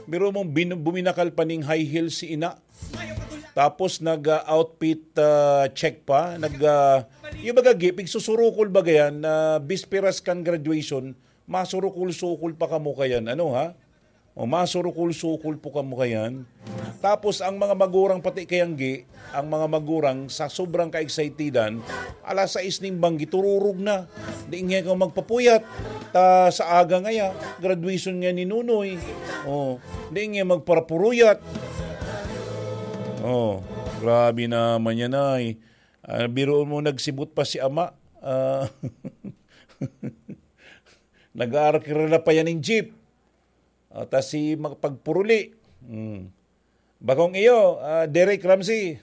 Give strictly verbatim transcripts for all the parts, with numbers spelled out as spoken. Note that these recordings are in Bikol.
Biro mo, bin-, buminakal pa ning high heels si ina. Tapos nag, ah, outfit, ah, check pa. Nag, ah, yung baga, gi-, pigsusurukol baga yan, na bisperas kan graduation, masurukol-sukol pa kamo kayan. Ano, ha? O, masurukol-sukol po kamo kayan. Tapos ang mga magurang pati kayang gi, ang mga magurang sa sobrang ka-excitedan, alas sais ning banggi, tururog na. Di nga ka magpapuyat. Ta sa aga ngaya, graduation nga ni Nunoy. Oh, di nga magparapuruyat. Oh, grabe naman yan ay. Ah, biruon mo, nagsibot pa si ama. Ah, nag-aarkira pa yan ng jeep. Ah, tas si mag-, pagpuruli. Hmm. Bakong iyo, ah, Derek Ramsey.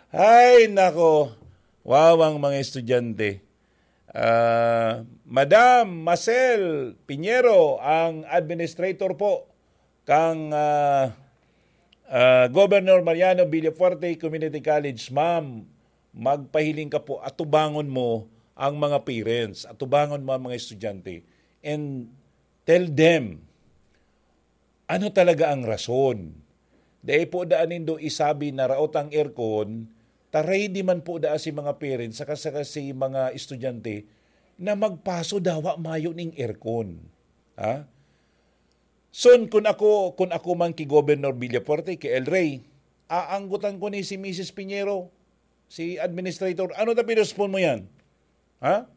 Ay, nako. Wawang mga estudyante. Ah, Madam Marcel Piñero, ang administrator po kang, ah, ah, Governor Mariano Villafuerte Community College, ma'am, magpahiling ka po, atubangon mo ang mga parents, atubangon mo ang mga estudyante, and tell them ano talaga ang rason. Dai po daan nindo isabi na raot ang aircon, ta ready man po daa si mga parents saka, saka si mga estudyante na magpaso dawa mayo ning aircon. Ha? Son, kun ako, kun ako man ki Governor Villafuerte, ki El Rey, aanggotan ko ni si Misis Piñero, si administrator, "Ano ta pinospon mo yan?" Ha?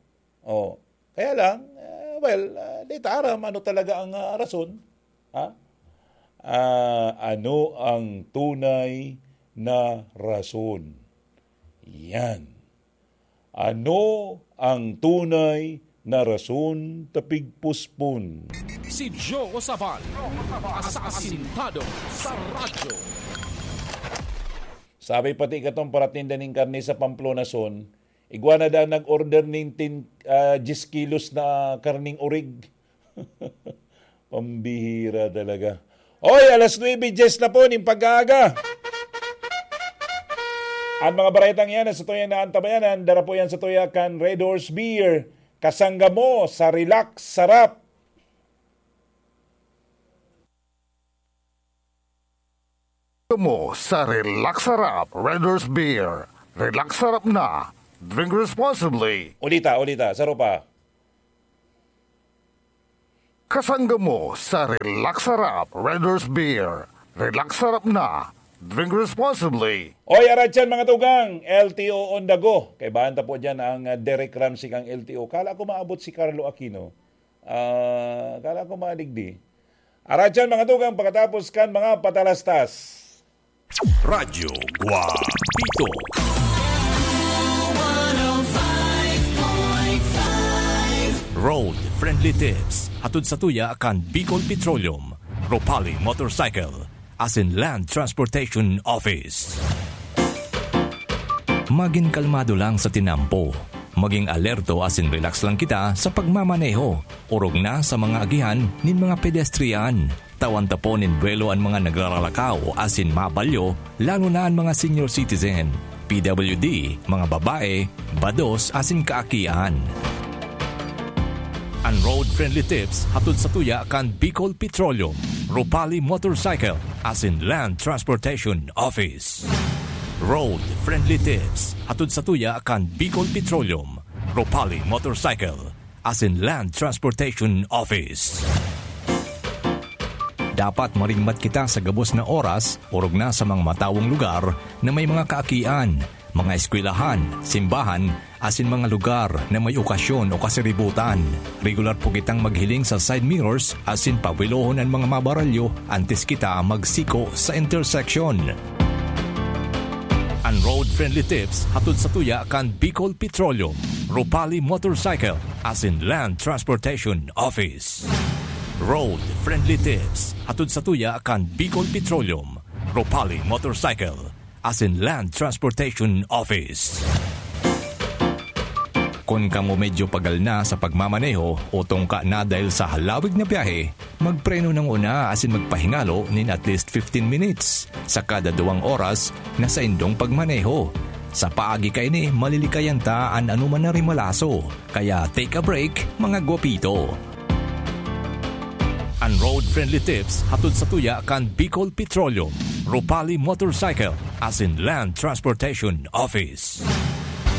Oh. Kaya lang, ah, well, ah, di ta aram ano talaga ang, ah, rason. Ha? Ah, ano ang tunay na rason? Yan. Ano ang tunay na rason ta pigpospon? Si Joe Sabal, asasintado sa radyo. Sabi pati katong paratinda ning karne sa Pamplona, son, igwa na daw nag-order ning tin-, ah, diyes kilos na karning orig. Pambihira talaga. Oy, alas nuebe dyes na po ning pag-aaga. Ang mga baretang yan, sa tuya na antabayanan, dara po yan sa tuya kan Red Horse Beer. Kasangga mo sa Relax Sarap. Mo sa Relax Sarap Red Horse Beer. Relax Sarap na. Drink responsibly. Ulita, ulita. Saro pa. Kasangga mo sa Relax Sarap Red Horse Beer. Relax Sarap na. Drink responsibly. Oy, aratyan, mga tugang, L T O on the go. Kaibahan ta po dyan ang, ah, Derek Ramsey kang L T O. Kala ko maabot si Carlo Aquino. Ah, kala ko madigdi. Aratyan, mga tugang, pagkatapos kan mga patalastas. Radyo Guapito. Road Friendly Tips. Hatod sa tuya kan Bicol Petroleum, Ropali Motorcycle, asin Land Transportation Office. Magin kalmado lang sa tinampo. Maging alerto asin relax lang kita sa pagmamaneho, orog na sa mga agihan nin mga pedestrian. Tawan ta po nin buwelo an mga nagraralakaw asin mabalyo, lalo na an mga senior citizen, P W D, mga babae, bados asin kaakian. An Road Friendly Tips hatod sa tuya kan Bicol Petroleum, Ropali Motorcycle, asin Land Transportation Office. Road Friendly Tips hatod sa tuya kan Bicol Petroleum, Ropali Motorcycle, asin Land Transportation Office. Dapat maringmat kita sa gabos na oras, orog na sa mga matawong lugar na may mga kaakian, mga eskwelahan, simbahan, asin mga lugar na may okasyon o kasiributan. Regular po kitang maghiling sa side mirrors asin pawilohon an mga mabaralyo antes kita magsiko sa intersection. An Road Friendly Tips hatod sa tuya kan Bicol Petroleum, Ropali Motorcycle, asin Land Transportation Office. Road Friendly Tips hatod sa tuya kan Bicol Petroleum, Ropali Motorcycle, asin Land Transportation Office. Kun kamo medyo pagal na sa pagmamaneho o tungka na dahil sa halawig na biyahe, magpreno nang una asin magpahingalo nin at least fifteen minutes. Sa kada duwang oras na saindong pagmaneho. Sa paagi kaini, malilikayan ta an anoman na rimalaso. Kaya take a break, mga gwapito. An Road-friendly tips hatod sa tuya kan Bicol Petroleum, Ropali Motorcycle, asin Land Transportation Office.